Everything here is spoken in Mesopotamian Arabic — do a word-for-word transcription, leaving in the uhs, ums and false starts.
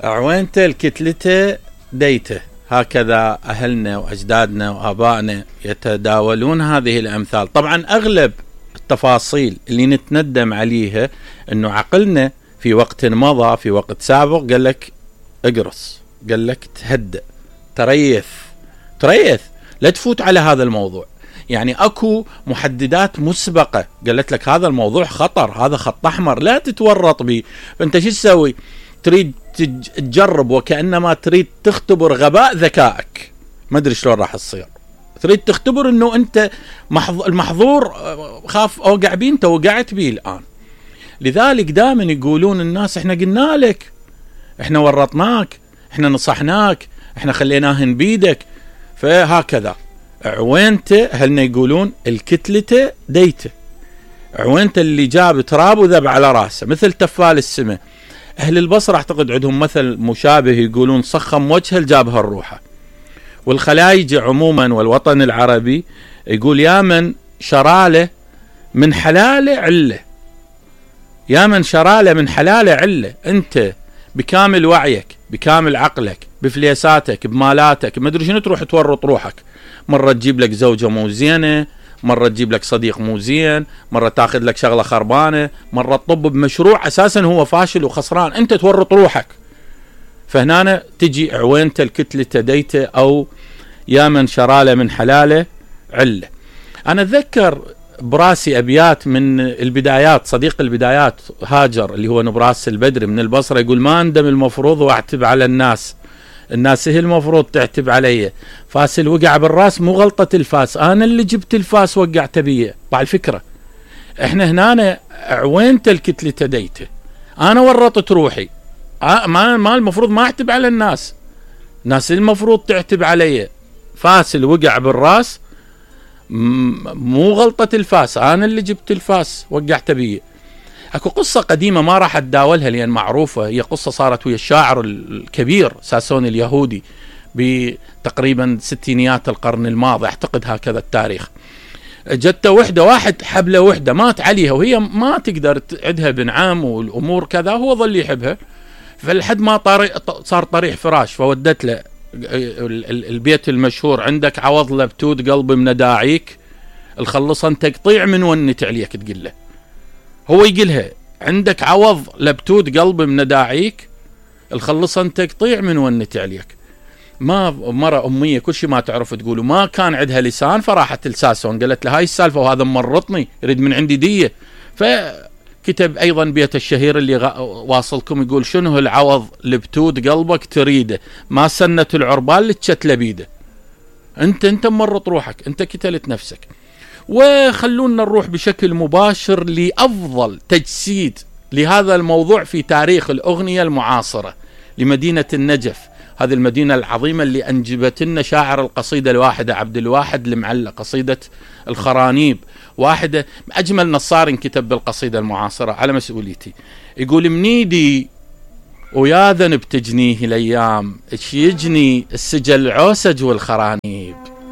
عوينته الكتلته ديته، هكذا أهلنا وأجدادنا وآبائنا يتداولون هذه الأمثال. طبعا أغلب التفاصيل اللي نتندم عليها أنه عقلنا في وقت مضى، في وقت سابق، قال لك اقرص، قال لك تهدأ، تريث تريث لا تفوت على هذا الموضوع. يعني أكو محددات مسبقة قالت لك هذا الموضوع خطر، هذا خط أحمر لا تتورط به. فأنت شو تسوي؟ تريد تجرب وكأنما تريد تختبر غباء ذكائك، ما أدري شلون راح تصير. تريد تختبر أنه أنت المحظور خاف أوقع بيه، أنت وقعت بيه الآن. لذلك دائما يقولون الناس إحنا قلنا لك، إحنا ورطناك، إحنا نصحناك، إحنا خليناهن بيدك. فهكذا عوينته، هلنا يقولون الكتلته ديته، عوينته اللي جاب تراب وذب على راسه مثل تفال السماء. أهل البصرة أعتقد عندهم مثل مشابه، يقولون صخم وجهه لجابها الروحة. والخلايج عموما والوطن العربي يقول يا من شراله من حلاله عله، يا من شراله من حلاله عله. أنت بكامل وعيك، بكامل عقلك، بفليساتك، بمالاتك، ما أدري شنو، تروح تورط روحك. مرة تجيب لك زوجة مو زينة، مرة تجيب لك صديق مو زين، مرة تاخذ لك شغلة خربانة، مرة تطب بمشروع أساسا هو فاشل وخسران، أنت تورط روحك. فهنا تجي عوينته الكتلة ديته، أو يا من شراله من حلاله عله. أنا أتذكر براسي أبيات من البدايات، صديق البدايات هاجر اللي هو نبراس البدري من البصرة، يقول ما أندم المفروض واعتب على الناس، الناس هي المفروض تعتب علي، فاس الوقع بالراس مو غلطة الفاس، أنا اللي جبت الفاس وقعت بيه. بعد الفكرة احنا هنا عوينته الكتلة ديته، أنا ورطت روحي، ما ما المفروض ما اعتب على الناس، الناس المفروض تعتب علي. فاس الوقع بالراس مو غلطة الفاس، أنا اللي جبت الفاس وقعت بيه. اكو قصة قديمة ما راح اتداولها لأن معروفة، هي قصة صارت ويا الشاعر الكبير ساسوني اليهودي بتقريبا ستينيات القرن الماضي، اعتقد هكذا التاريخ. جت وحدة، واحد حبلة وحدة مات عليها، وهي ما تقدر تعدها بنعام والأمور كذا، هو ظل يحبها. فلحد ما طارق صار طريح فراش، فودت له البيت المشهور عندك عوض لبتود قلبي من داعيك، الخلصا تقطيع من ونت عليك. تقول له، هو يقولها عندك عوض لبتود قلبي من داعيك، الخلصا تقطيع من ونت عليك. ما مرة أمية كل شيء ما تعرف تقوله، ما كان عندها لسان، فراحت لساسون قالت له هاي السالفة وهذا مرطني يريد من عندي دية. فكتب أيضا بيت الشهير اللي واصلكم، يقول شنو العوض لبتود قلبك تريده، ما سنة العربان لتشت لبيده. انت انت مرط روحك، انت كتلت نفسك. وخلونا نروح بشكل مباشر لأفضل تجسيد لهذا الموضوع في تاريخ الأغنية المعاصرة، لمدينة النجف، هذه المدينة العظيمة اللي أنجبت لنا شاعر القصيدة الواحدة عبد الواحد المعلى، قصيدة الخرانيب، واحدة أجمل نصار كتب بالقصيدة المعاصرة على مسؤوليتي. يقول منيدي ويا ذنب تجنيه الأيام، ايش يجني السجل عوسج والخرانيب.